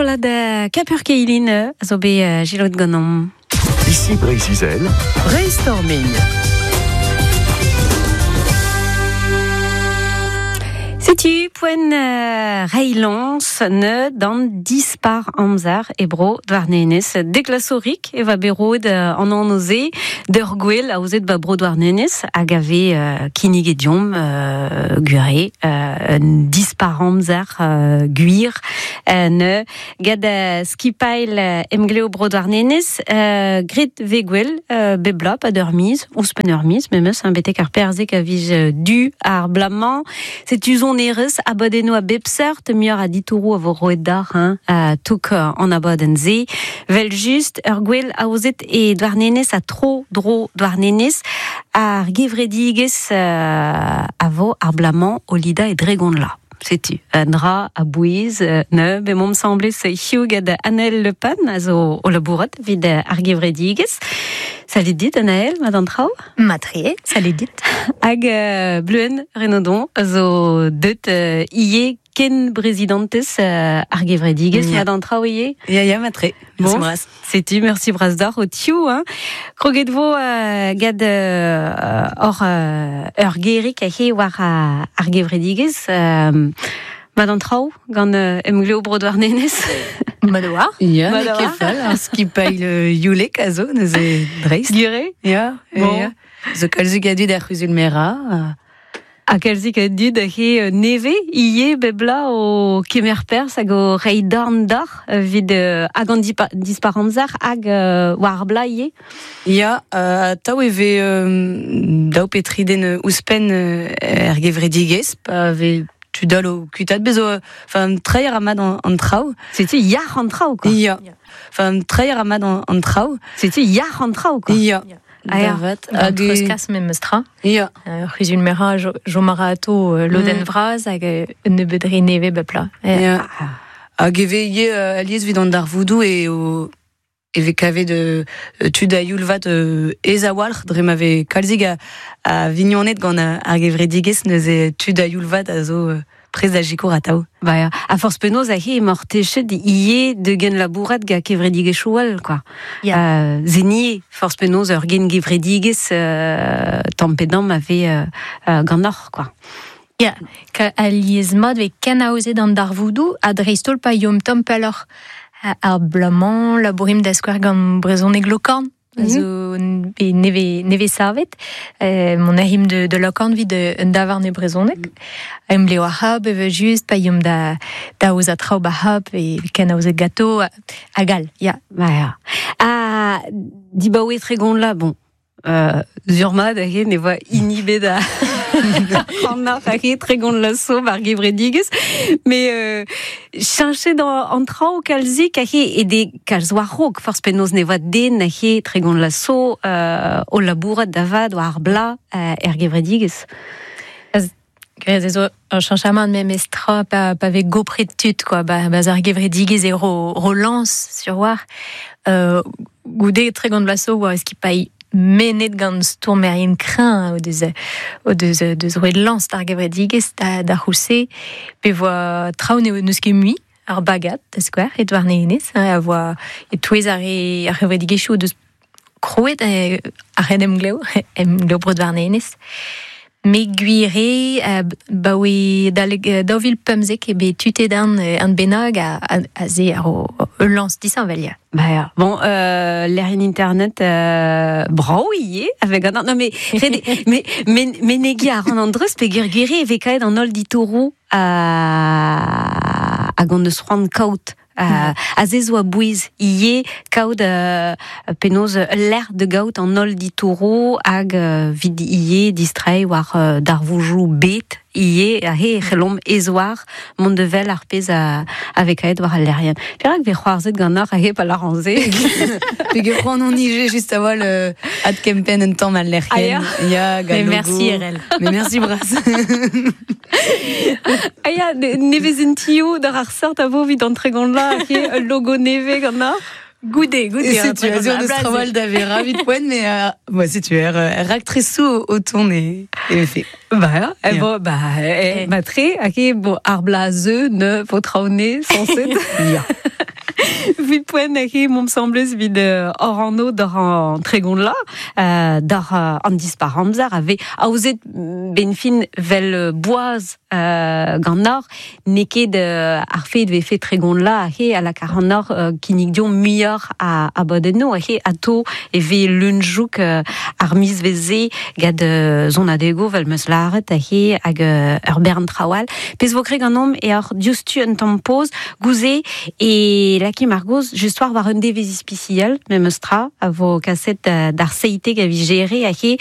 Strollad Kapur-Keilin a zo bet selaouet ganeomp. Ici Breizh-Izel. Brainstorming. Setu poent reiñ lañs ne d'an dispar amzer e bro Douarnenez. Deklasorik e va bet roet an anv-se d'ur gwel aozet ba bro Douarnenez hag a vez kinniget deomp gwir un dispar amzer gwir ne Gant skipailh Emglev Bro Douarnenez, graet vez gwell bep bloaz pad ur miz, ouzhpenn ur miz memes, hein, betek ar perzek a viz du ar bloaz-mañ. Setu sonerezh, abadennoù a bep seurt, muioc'h a ditouroù a vo roet deoc'h hein, touk an abadenn-se. Vel-just, ur gwel aozet e Douarnenez ha tro-dro Douarnenez, ar gevredigezh a vo ar bloaz-mañ o lidañ e Dregonla. Setu un dra a-bouez neuze bemomp 'semblez hiziv gant Anaël Le Pen a zo o labourat evit ar gevredigezh. Salut dit Anaël, mat an traoù? Mat-tre, salut dit. Hag Bleuenn Renaudon a zo deut ivez ken brezidantez ar gevredigezh, mat an traoù ivez? Ya, ya, mat-tre. Bon, bras. Setu, merci bras deoc'h ho tiv. Hein. Kroget vo gant hor ur gerig he war ar gevredigezh. Mat an traoù gant Emglev Bro Douarnenez. Mat war. Ya, n'eo ket fall. Ar skipailh youlek a zo neuze dreist. Gure? Ya, bon. Ya. Zo kalzik a dud er c'huzul-merañ. Ha kalzik a dud he nevez ivez bep bloaz o kemer perzh hag o reiñ dorn deoc'h evit hag an dispar amzer hag war ar bloaz ivez. Ya, atav e vez daou pe tri den ouzhpenn er gevredigezh pa vez tud all o kuitaat bez zo enfin treiñ a ra mat an traoù. Setu yac'h an traoù quoi. Ya. Enfin treiñ a ra mat an traoù. Setu yac'h an traoù quoi. Ya. Ah, vat. Hag treuzkas memes tra. Ya. Ur c'huzul merañ chom a ra ato lodenn vras hag un nebeud re nevez bep bloaz. Ya. Hag e vez ivez alies evit an darvoudoù eo e vez kavet tud a-youl vat aes a-walc'h dre ma vez kalzik a vignoned gant ar gevredigezh neuze tud a-youl vat a zo prest da sikour atav. Ba ya. A forzh penaos aze emaoc'h techet ivez da genlabourat gant kevredigezhioù all, quoi. Ya. Zenier, forzh penaos ur gengevredigezh tamm pe damm a vez ganeoc'h, quoi. Ya, ka alies-mat vez kenaozet an darvoudoù ha dreist-holl pa yomp tamm pelloc'h. Ar bloaz-mañ labourimp da skouer gant brezhoneg Lokorn. Zo bet nevez, nevez savet. Mont a rimp de Lokorn evit un davarn e brezhoneg. Emglev ar c'hab evel-just, pa yomp da, da aozañ traoù ba c'hab e ken aozet gato hag all, ya. Ba ya. Ha dibaoe Tregont la, bon, Sur-mat aze ne voa hini bet a an aze Tregont Lasso war gevredigezh. Mais cheñchet an traoù kalzik aze e de kalz war-raok forzh penaos ne voa den aze Tregont Lasso o labourat da vat war ar bloaz er gevredigezh. Graet ez zo ur cheñchamant memes tra pa, pa vez gopret tud quoi ba, ba ar gevredigezh e ro, ro lañs sur war goude 30 vloaz zo oa skipailh mennet gant stourmerien kreñv o deus o deus deus roet lañs d'ar gevredigezh da, da c'houlz-se pe voa traoù n'eus ket mui ar bagad da skouer e Douarnenez a voa e-touez ar re ar c'hevredigezhioù o deus krouet ar ren-emglev, emglev Bro Douarnenez. Me gwir eo, baoe adalek 2015 eo bet tutet an, an bennak a se a ro ul lañs disheñvel ya. Bah ya. Bon, lec'hienn internet brav ivez avec an non mais mais mais menegiñ a ran an dreuz peogwir gwir eo e vez kaet an holl ditouroù hag hon eus c'hoant kaout Aze zo a-bouez ivez kaout penaos ul lec'h da gaout an holl ditouroù hag evit ivez distreiñ war darvoudoù bet ivez aze e c'hellomp ez-war mont da wel ar pezh a vez kaet war al lec'hienn. Perak 'vez c'hoarzhet ganeoc'h aze pa lâran se? Peogwir c'hoant on ije just a-walc'h adkempenn un tamm al lec'hienn. Ya, gant Mais merci RL. Mais merci bras. Ah ya, nevezentioù d'ar ar seurt a vo evit an tregont vloaz, ul logo nevez ganeoc'h? Goude, goude. Setu aze on eus trawal da vera evit poent, mais euh, setu er, er raktresoù o tont e, e vefe. Bah, ya, eh, bon, bah, eh, matre, hag e, bon, ar blaz ne vo traoù-ne, sañset. Ya. Vit poent he mom semblez vid orano d'or an tregon la, d'or an dispar amzer ave aozet ben fin vel boaz gant nor, n'eo ket ar fet ve fet tregon la he a la kar an nor kinnig dion muioc'h a bodenno he ato e ve lunjouk ar miz veze gad zon adego vel meus laret he hag ur bern trawal. Pez vo kreg an om e ar diouzhtu un tamm poz gouze e laki margoz just war un devez ispicial memes tra a vo kaset d'ar seite a vi gere a he.